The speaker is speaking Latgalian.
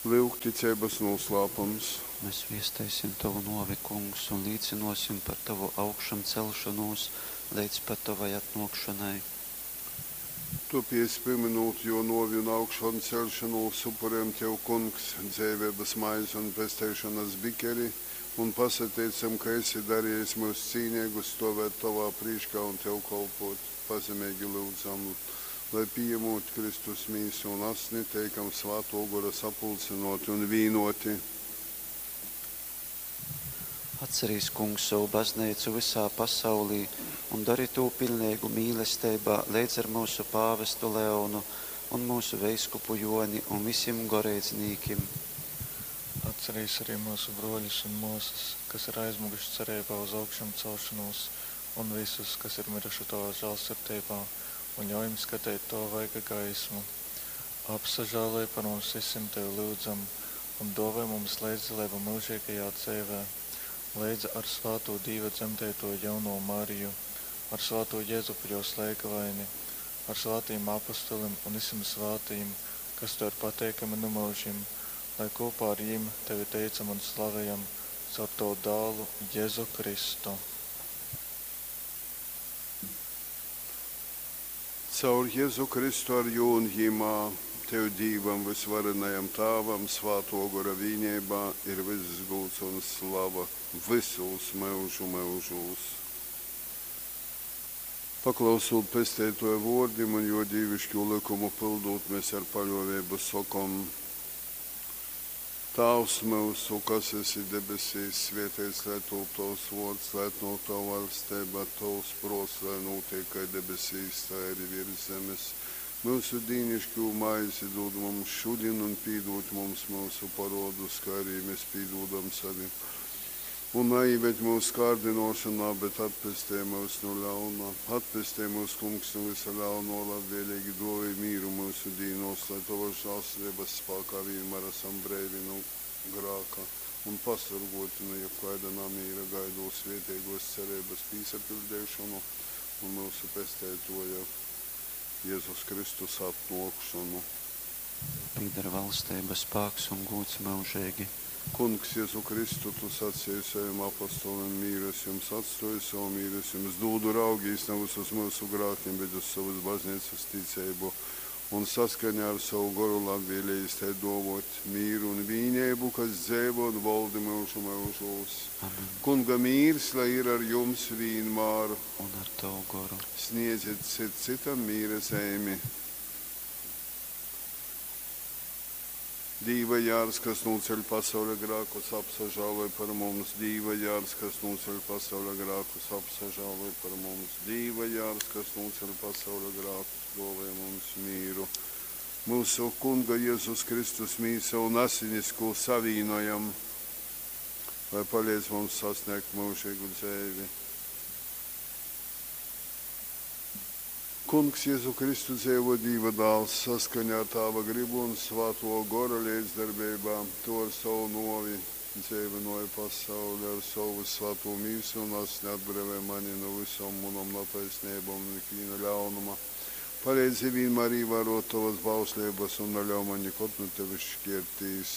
Lyuk, ticeibas nūslāpums. Mes viesteisim tovu nōvi, Kungs, un līcynōsim par tovu augšamceļšonūs leidz pat tovai atnōkšonai. Tōpēc, pimynūt Jō nōvi un augšanceļšonūs, upurejam Tev, Kungs, dzeiveibas maizi un pesteišonas bikeri un pasateicam, ka esi darejis myus cīneigus stōvēt Tovā prīškā un Tev kolpōt. Pazemeigi lyudzam, lai, pījamūt Kristus Mīsu un Asni, teikam Svātō Gora sapulcynōti un vīnōti. Atcerīs, Kungs, sovu Bazneicu vysā pasaulī un dori tū piļneigu mīlesteibā leidz ar myusu pāvestu Leonu un myusu veiskupu Jōni un visim goreidznīkim. Atcerīs arī myusu brōļus un mōsas, kas ir aizmyguši cereibā uz augšamcelšonūs, un vysus, kas ir myruši tovā žālsirdeibā, un ļauj jim skateit tova vaiga gaismu. Apsažāloj par mums vysim, tevi lyudzam, un dōvoj mums leidzdaleibu myužeigajā dzeivē, leidza ar svātū Dīva dzemdeitōju jaunovu Mariju, ar svātū Jezupu jōs leigavaini, ar svātajim apostolim un vysim svātajim, kas tev ir pateikami nu myužim, lai kopā ar jim tevi teicam un slavejam caur tavu dālu Jezu Kristu. Caur Jezu Kristu ar Jū un Jymā, Tev, Dīvam vysvarenajam Tāvam, Svātō Gora vīneibā ir vyss gūds un slava vysūs myužu myužūs. Paklausūt Pesteitōja vōrdim un Jō dīviškū lykumu pyldūt, mes ar paļōveibu sokom, Tāvs myusu, kas esi debesīs, svēteits lai tūp tovs vōrds, lai atnōk tova vaļsteiba, tovs prōts, lai nūtiek kai debesīs, tai arī virs zemes. Myusu dīniškū maizi dūd mums šudin un pīdūd mums myusu parōdus, kai arī mēs pīdūdam savim. Un naīved mūsu kārdinošanā, bet atpestej mūs no ļauna. Atpestej mūs, Kungs, no visa ļauno, labvēlīgi dāvāj mīru mūsu dīnos, lai Tavas žēlsirdības spēkā vienmēr esam breivi no grāka un pasargoti no jebkāda namīra, gaidot svētīgos cerības pīsapildīšanu un mūsu pesteitoja Jēzus Kristus atnākšanu. Pīdara valstība, spēks un gūds mūžīgi. Kungs, Jēzu Kristu, tu sacīji saviem apostoliem, mīru es jums atstoju, savu mīru es jums dūdu, raugīs nevis uz mūsu grākiem, bet uz savas baznīcas ticību, un saskaņā ar savu goru labvēlījis tai dovot mīru un vīnību, kas dzeivo un valdi mūžu mūžos. Amen. Kunga mīrs, lai ir ar jums vienmēr. Un ar tavu goru. Sniedziet cit citam mīra zeimi. Dīva jārs, kas nūceļ pasaules grākus, apsažāloj par mums. Dīva jārs, kas nūceļ pasaules grākus, apsažāloj par mums. Dīva jārs, kas nūceļ pasaules grākus, dāvāj mums mīru. Mūsu Kunga Jēzus Kristus mīsa un asinis, ko savīnojam, lai palīdz mums sasniegt mūžīgu dzīvi. Kungs Jēzu Kristu dzīvo Dīva dāls saskaņā ar Tāva gribu un Svāto Gora līdzdarbībā, to ar savu novi dzīvinoja pasauli, ar savu svāto mīsu un asni atbrīvoja mani no visām manām netaisnībām un ikviena ļaunuma. Palīdzi vienmēr ievērot tavas bauslības un neļauj man nekad no tevis šķirtīs.